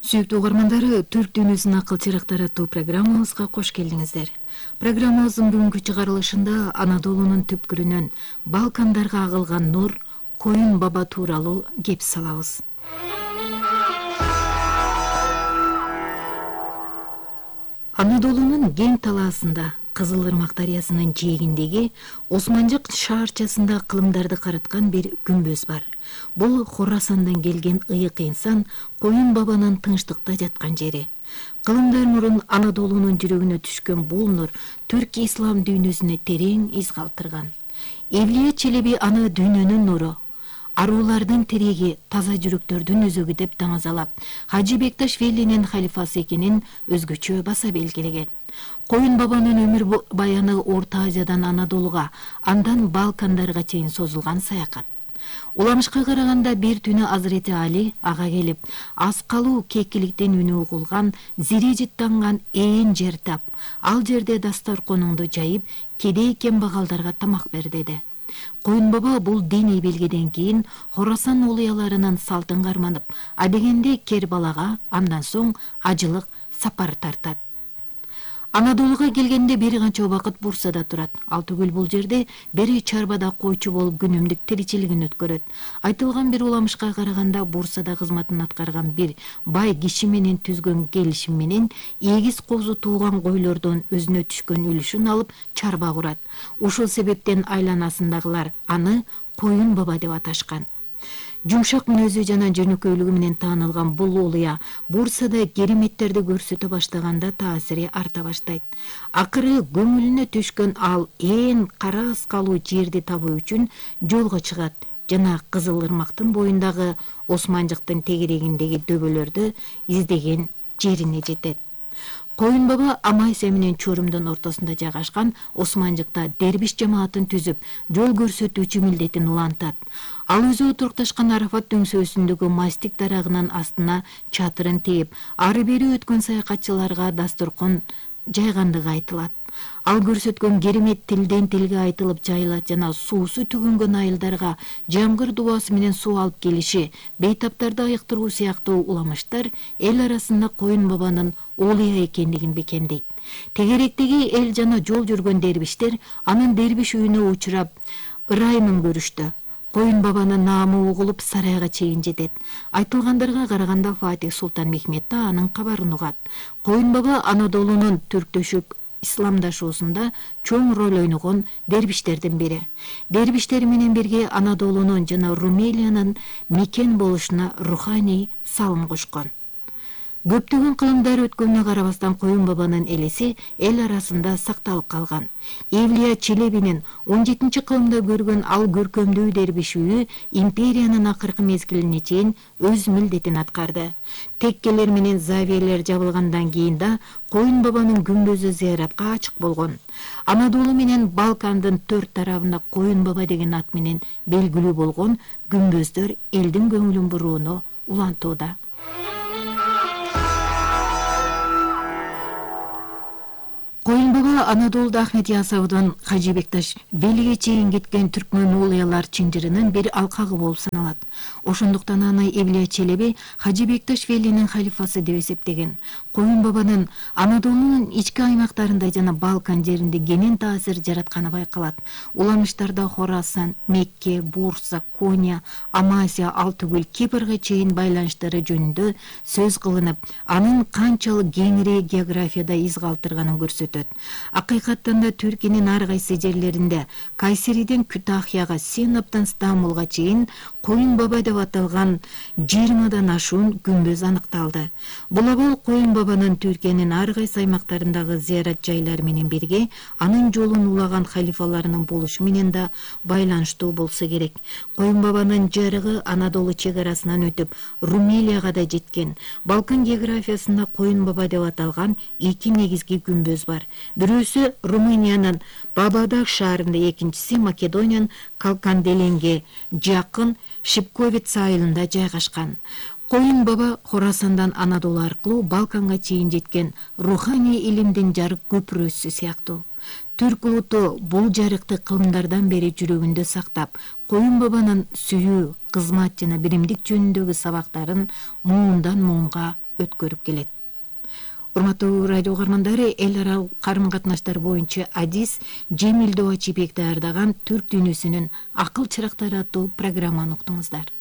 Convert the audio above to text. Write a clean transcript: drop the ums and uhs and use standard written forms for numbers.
Сүйүктүү угармандары, Түрк дүйнөсүнүн акыл чырактары аттуу программабызга кош келдиңиздер. Программабыздын бүгүнкү чыгарылышында Анадолунун түпкүрүнөн Балкандарга агылган нур, Коюн баба тууралуу кеп салабыз. Анадолунун кең талаасында, Кызыл Ырмак дарыясынын жээгиндеги Османжык шаарчасында кылымдарды караткан бир күмбөз бар. Бул Хорасандан келген ыйык инсан Коюн бабанын тынчтыкта жаткан жери. Кылымдар мурун Анадолунун жүрөгүнө түшкөн бул нур түрк ислам дүйнөсүнө терең из калтырган. Эвлия Челеби аны дүйнөнүн нуру, аруулардын тиреги, таза жүрөктөрдүн өзөгү деп таңазалап, Хажы Бекташ Велинин халифасы экенин өзгөчө баса белгилеген. Коюн бабанын өмүр баяны Орто Азиядан Анадолуга, андан Балкандарга чейин созулган саякат. Уламышка караганда бир түнү Азырети Али ага келип, аз калуу кекиликтен үнү угулган, зири жыттанган ээн жер тап, ал жерде дасторконуңду жайып, кедей кембагалдарга тамак бер деди. Коюн баба бул диний белгиден кийин Хорасан улуяларынын салтын карманып, адегенде Кербалага, андан соң ажылык сапар тартат. Анадолуга келгенде бир канча убакыт Бурсада турат. Ал түгүл бул жерде бери чарбада койчу болуп күнүмдүк тиричилигин өткөрөт. Айтылган бир уламышка караганда Бурсада кызматын аткарган бир бай киши менен түзгөн келишим менен эгиз козу тууган койлордон өзүнө түшкөн үлүшүн алып чарба курат. Ушул себептен айланасындагылар аны Коюн баба деп аташкан. Жумшак мүнөзү жана жөнөкөйлүгү менен таанылган бул улуя Бурсада кереметтерди көрсөтө баштаганда таасири арта баштайт. Акыры көңүлүнө түшкөн ал ээн кара аскалуу жерди табуу үчүн жолго чыгат жана Кызыл Ырмактын боюндагы Османжыктын тегерегиндеги дөбөлөрдү издеген жерине жетет. Коюн баба Амайся менен Чорумдун ортосунда жайгашкан Османжыкта дербиш жамаатын түзүп, жол көрсөтүүчү милдетин улантат. Ал өзү отурукташкан Арафат дөңсөөсүндөгү мастик дарагынын астына чатырын тээп, ары бери өткөн саякатчыларга дасторкон жайгандыгы айтылат. Ал көрсөткөн керемет тилден тилге айтылып жайылат жана суусу түгөнгөн айылдарга жамгыр дубасы менен суу алып келиши, бейтаптарды айыктыруу сыяктуу уламыштар эл арасында Коюн бабанын улуя экендигин бекемдейт. Тегеректеги эл жана жол жүргөн дербиштер анын дербиш үйүнө учурап ырайымын көрүштү. Коюн бабанын наамы угулуп сарайга чейин жетет. Айтылгандарга караганда Фатих Султан Мехмет да анын кабарын угат. Коюн баба Анадолунун түрктөшүп исламдашуусунда чоң роль ойногон дербиштердин бири. Дербиштер менен бирге Анадолунун жана Румелиянын мекен болушуна руханий салым кошкон. Көптөгөн кылымдар өткөнүнө карабастан Коюн бабанын элеси эл арасында сакталып калган. Эвлия Челебинин 17-кылымда көргөн ал көркөмдүү дербиш үйү империянын акыркы мезгилине чейин өз милдетин аткарды. Теккелер менен завиялер жабылгандан кийин да Коюн бабанын күмбөзү зыяратка ачык болгон. Анадолу менен Балкандын төрт тарабында Коюн баба деген ат менен белгилүү болгон күмбөздөр элдин көңүлүн бурууну улантууда. Коюн баба Анадолуда Ахмет Ясаудан Хажы Бекташ Велиге чейин кеткен түркмөн улуялар чынжырынын бир алкагы болуп саналат. Ошондуктан аны Эвлия Челеби Хажы Бекташ Велинин халифасы деп эсептеген. Коюн бабанын Анадолунун ички аймактарында жана Балкан жеринде кенен таасир жаратканы байкалат. Уламыштарда Хорасан, Мекке, Бурса, Коня, Амасия, ал түгүл Кипрге чейин байланыштары жөнүндө сөз кылынып, анын канчалык кеңири географияда из калтырганын көрсөтөт. Акыйкаттан да Түркиянын ар кайсы жерлеринде Кайсериден Күтахияга, Синаптан Стамбулга чейин Коюн баба деп аталган 20-дан ашуун күмбөз аныкталды. Бул Коюн бабанын Түркиянын ар кайсы аймактарындагы зыярат жайлары менен бирге анын жолун улаган халифаларынын болушу менен да байланыштуу болсо керек. Коюн бабанын жарыгы Анадолу чек арасынан өтүп Румелияга да жеткен. Балкан географиясында Коюн баба деп аталган 2 негизги күмбөз бар. Бирөөсү Румыниянын Бабадаг шаарында, экинчиси Македониянын Калканделенге жакын Шипковец айылында жайгашкан. Коюн баба Хорасандан Анадолу аркылуу Балканга чейин жеткен руханий илимдин жарык көпүрөсү сыяктуу. Түрк улуту бул жарыкты кылымдардан бери жүрөгүндө сактап, Коюн бабанын сүйүү, кызмат жана биримдик жөнүндөгү сабактарын муундан муунга өткөрүп келет. Урматтуу радио угармандары, эл аралык карым катнаштар боюнча адис Жемил Чипек даярдаган Түрк дүйнөсүнүн акыл чырактары аттуу программаны уктуңуздар.